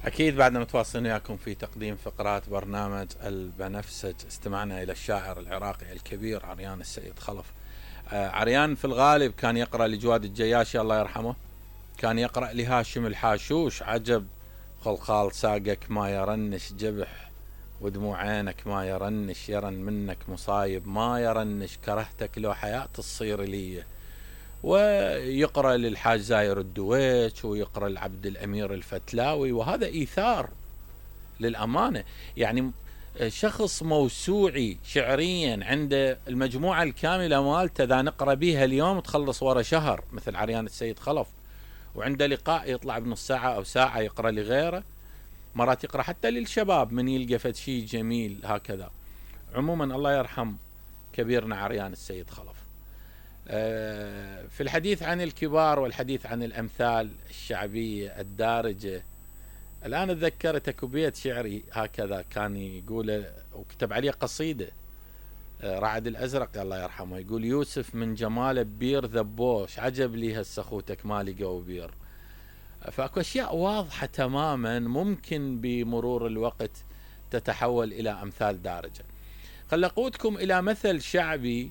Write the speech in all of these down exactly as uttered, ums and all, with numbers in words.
أكيد بعدنا متواصلين وياكم في تقديم فقرات برنامج البنفسج. استمعنا إلى الشاعر العراقي الكبير عريان السيد خلف. آه عريان في الغالب كان يقرأ لجواد الجياشي الله يرحمه، كان يقرأ لهاشم الحاشوش عجب خلخال ساقك ما يرنش جبح ودموع عينك ما يرنش يرن منك مصايب ما يرنش كرهتك لو حياة تصير لي. ويقرأ للحاج زاير الدويش ويقرأ لعبد الأمير الفتلاوي، وهذا إيثار للأمانة. يعني شخص موسوعي شعريا عنده المجموعة الكاملة مالته إذا نقرأ بيها اليوم تخلص ورا شهر مثل عريان السيد خلف، وعنده لقاء يطلع بنص ساعة أو ساعة يقرأ لغيره، مرات يقرأ حتى للشباب من يلقى فد شيء جميل هكذا. عموما الله يرحم كبيرنا عريان السيد خلف. في الحديث عن الكبار والحديث عن الأمثال الشعبية الدارجة، الآن تذكرت اكو بيت شعري هكذا كان يقول وكتب عليه قصيدة رعد الأزرق الله يرحمه، يقول يوسف من جماله ببير ذبوش عجب لي هالسخوتك ما لقوا بير. فاكو أشياء واضحة تماما ممكن بمرور الوقت تتحول إلى أمثال دارجة. خل أقودكم إلى مثل شعبي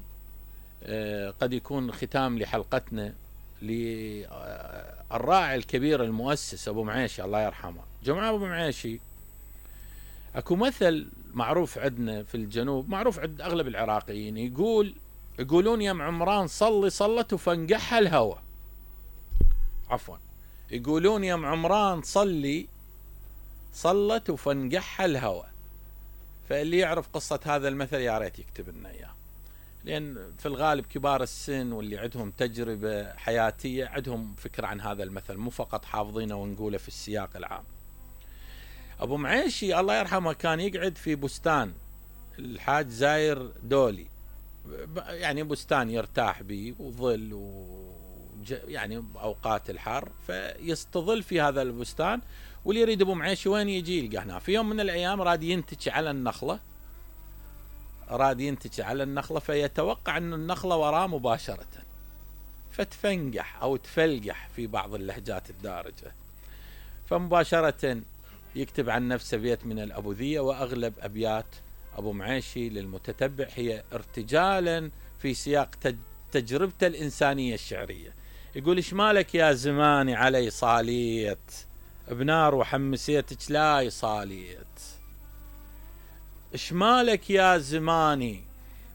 قد يكون ختام لحلقتنا للراعي الكبير المؤسس أبو معيشي الله يرحمه. جماعة أبو معيشي أكو مثل معروف عندنا في الجنوب، معروف عند أغلب العراقيين، يقول يقولون يا عمران صلي صلت وفنقحها الهوى. عفوا يقولون يا عمران صلي صلت وفنقحها الهوى. فاللي يعرف قصة هذا المثل يا ريت يكتب لنا إياه، لأن في الغالب كبار السن واللي عندهم تجربة حياتية عندهم فكرة عن هذا المثل، مو فقط حافظينه ونقوله في السياق العام. أبو معيشي الله يرحمه كان يقعد في بستان الحاج زاير دولي، يعني بستان يرتاح به وظل و يعني أوقات الحر فيستظل في هذا البستان، واللي يريد أبو معيشي وين يجي يلقى هنا. في يوم من الأيام راد ينتج على النخلة راد ينتج على النخلة فيتوقع أن النخلة وراه مباشرة فتفنقح أو تفلقح في بعض اللهجات الدارجة، فمباشرة يكتب عن نفسه بيت من الأبوذية. وأغلب أبيات أبو معيشي للمتتبع هي ارتجالا في سياق تجربته الإنسانية الشعرية. يقول إيش مالك يا زماني علي صاليت بنار وحمسيتك لا صاليت، إيش مالك يا زماني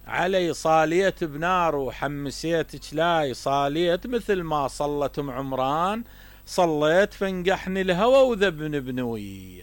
علي صاليت بنار وحمسيتك لا صاليت، مثل ما صلت ام عمران صليت فنقحني الهوى وذبن بنويت.